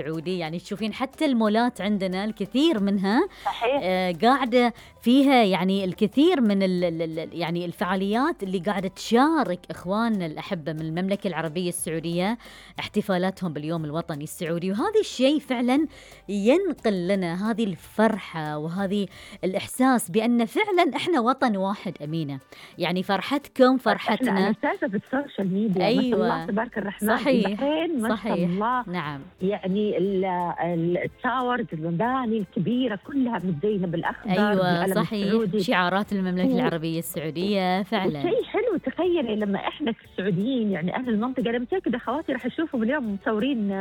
السعودي، يعني تشوفين حتى المولات عندنا الكثير منها صحيح. قاعدة فيها يعني الكثير من يعني الفعاليات اللي قاعدة تشارك إخواننا الأحبة من المملكة العربية السعودية احتفالاتهم باليوم الوطني السعودي. وهذا الشيء فعلا ينقل لنا هذه الفرحة وهذه الإحساس بأن فعلا إحنا وطن واحد. أمينة، يعني فرحتكم فرحتنا. احنا أساسا في السوشيال ميديا ما شاء الله تبارك الرحمن. صحيح البحرين ما شاء الله. نعم. يعني التاورز، المباني الكبيرة كلها متزينة بالأخضر. أيوة صحيح، شعارات المملكة العربية السعودية فعلا. شيء حلو. تخيلي لما احنا السعوديين يعني أهل المنطقة، أنا متأكدة أخواتي راح يشوفوا اليوم مصورين.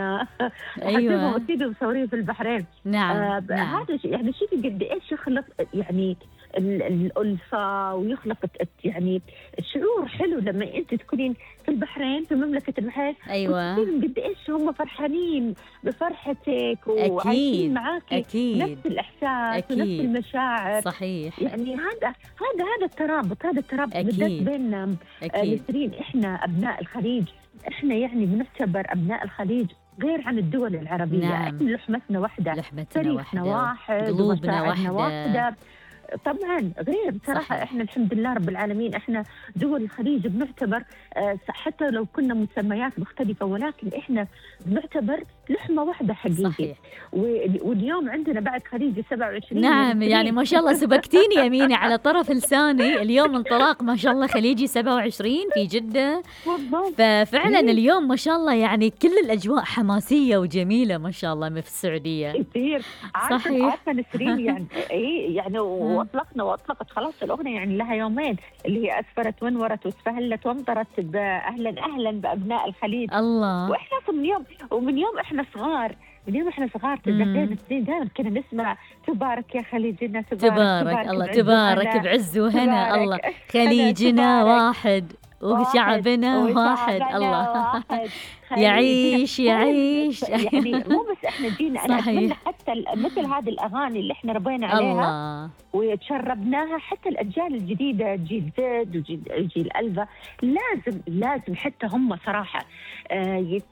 أيوة أكيد مصورين في البحرين. نعم. هذا يعني شوفي قد إيش يخلق يعني الألفة، ويخلق يعني الشعور حلو لما أنت تكونين في البحرين، في مملكة البحرين. أيوة قد إيش هم فرحانين بفرحتك وعايشين معاكي نفس الإحساس ونفس المشاعر. صحيح. يعني هذا الترابط، بالذات بيننا نسرين. إحنا أبناء الخليج، إحنا يعني بنعتبر أبناء الخليج غير عن الدول العربية. نعم. إحنا لحمتنا واحدة، تاريخنا واحد، قلوبنا واحدة. طبعا غير بصراحة. صحيح. احنا الحمد لله رب العالمين، احنا دول الخليج بنعتبر حتى لو كنا مسميات مختلفة، ولكن احنا بنعتبر لحمة واحدة حقيقي. صحيح. واليوم عندنا بعد خليجي 27. نعم، يعني ما شاء الله سبقتيني يا أمينة على طرف لساني. اليوم انطلاق ما شاء الله خليجي 27 في جدة. ففعلا اليوم ما شاء الله يعني كل الأجواء حماسية وجميلة ما شاء الله في السعودية كثير. عارفة نسرين يعني يعني واطلقت خلاص الأغنية، يعني لها يومين، اللي هي أسفرت ونورت واسفهلت وامطرت أهلا بأبناء الخليج. الله. وإحنا من يوم إحنا صغار، تتذكرين السنين دائما كنا نسمع تبارك يا خليجنا، تبارك الله، تبارك بعز وهنا. الله خليجنا واحد وشعبنا واحد. الله يعيش. يعني مو بس احنا جينا، انا اتمنى حتى مثل هذه الاغاني اللي احنا ربينا عليها وتشربناها، حتى الاجيال الجديده، جيل زد وجيل الفا، لازم حتى هم صراحه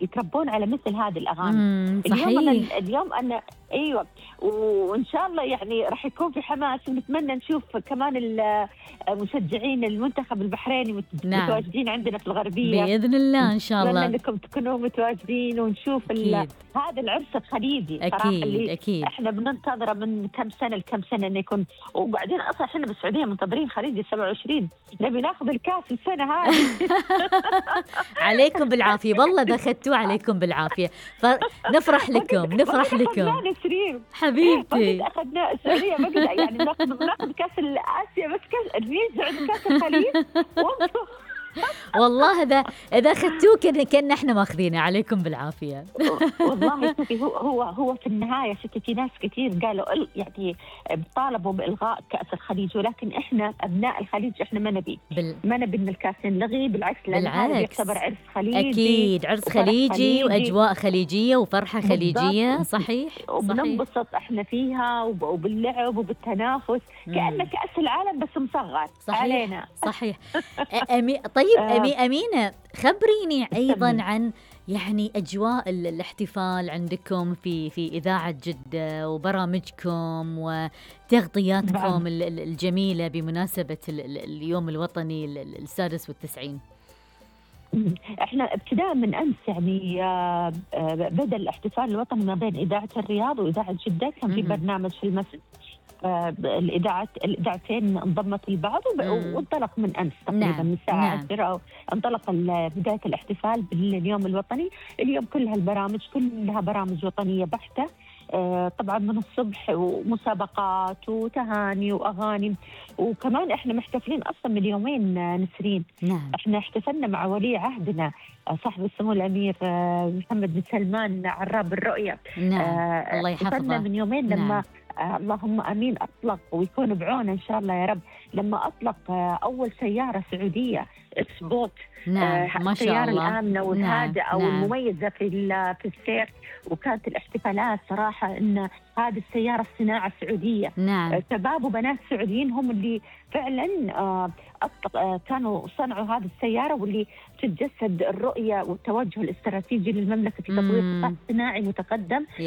يتربون على مثل هذه الاغاني. اليوم انا ايوه، وان شاء الله يعني راح يكون في حماس، ونتمنى نشوف كمان المشجعين المنتخب البحريني متواجدين عندنا في الغربيه باذن الله. ان شاء الله نتمنى انكم تكونوا متواجدين ونشوف هذا العرس الخليجي. أكيد. احنا بننتظره من كم سنه لكم سنه انه يكون. وبعدين اصلا احنا بالسعوديه منتظرين خليجي 27، نبي ناخذ الكاس السنه هذه. عليكم بالعافيه، والله اخذتوه عليكم بالعافيه، فنفرح لكم حبيبتي. اخذنا السعوديه بقدر يعني ناخذ كاس اسيا، بس كاس كاس الخليج. والله إذا أخذتوه كأن إحنا ماخذينه. عليكم بالعافية. والله شوفي، هو في النهاية شوفي في ناس كثير قالوا يعني طالبوا بإلغاء كأس الخليج، ولكن إحنا أبناء الخليج إحنا ما نبي إن الكاس ينلغي. بالعكس، لأن هذا يعتبر عرس خليجي. أكيد عرس خليجي وأجواء خليجية وفرحة خليجية. صحيح. وبننبسط إحنا فيها وباللعب وبالتنافس، كأنه كأس العالم بس مصغر علينا. صحيح. طيب أمينة، خبريني أيضا عن يعني أجواء الاحتفال عندكم في إذاعة جدة وبرامجكم وتغطياتكم الجميلة بمناسبة اليوم الوطني السادس والتسعين. احنا ابتداء من امس يعني بدأ الاحتفال الوطني ما بين إذاعة الرياض وإذاعة جدة. كان في برنامج في المسجد، الإذاعتين انضمت لبعض وانطلق من أمس تقريبا من الساعة 10 انطلق بداية الاحتفال باليوم الوطني. اليوم كلها البرامج كلها برامج وطنية بحتة. طبعا من الصبح ومسابقات وتهاني وأغاني، وكمان احنا محتفلين أصلا من يومين نسرين. احنا احتفلنا مع ولي عهدنا صاحب السمو الأمير محمد بن سلمان عراب الرؤية. الله يحفظه. احتفلنا من يومين لما اللهم امين اطلق ويكون بعونه ان شاء الله يا رب، لما اطلق اول سياره سعوديه سبوت. نعم ما شاء السياره الله. الامنه والهادئه نعم. والمميزه في السير، وكانت الاحتفالات صراحه ان هذه السياره الصناعه السعوديه. نعم. شباب وبنات سعوديين هم اللي فعلا كانوا صنعوا هذه السياره، واللي تتجسد الرؤيه والتوجه الاستراتيجي للمملكه في تطوير قطاع صناعي متقدم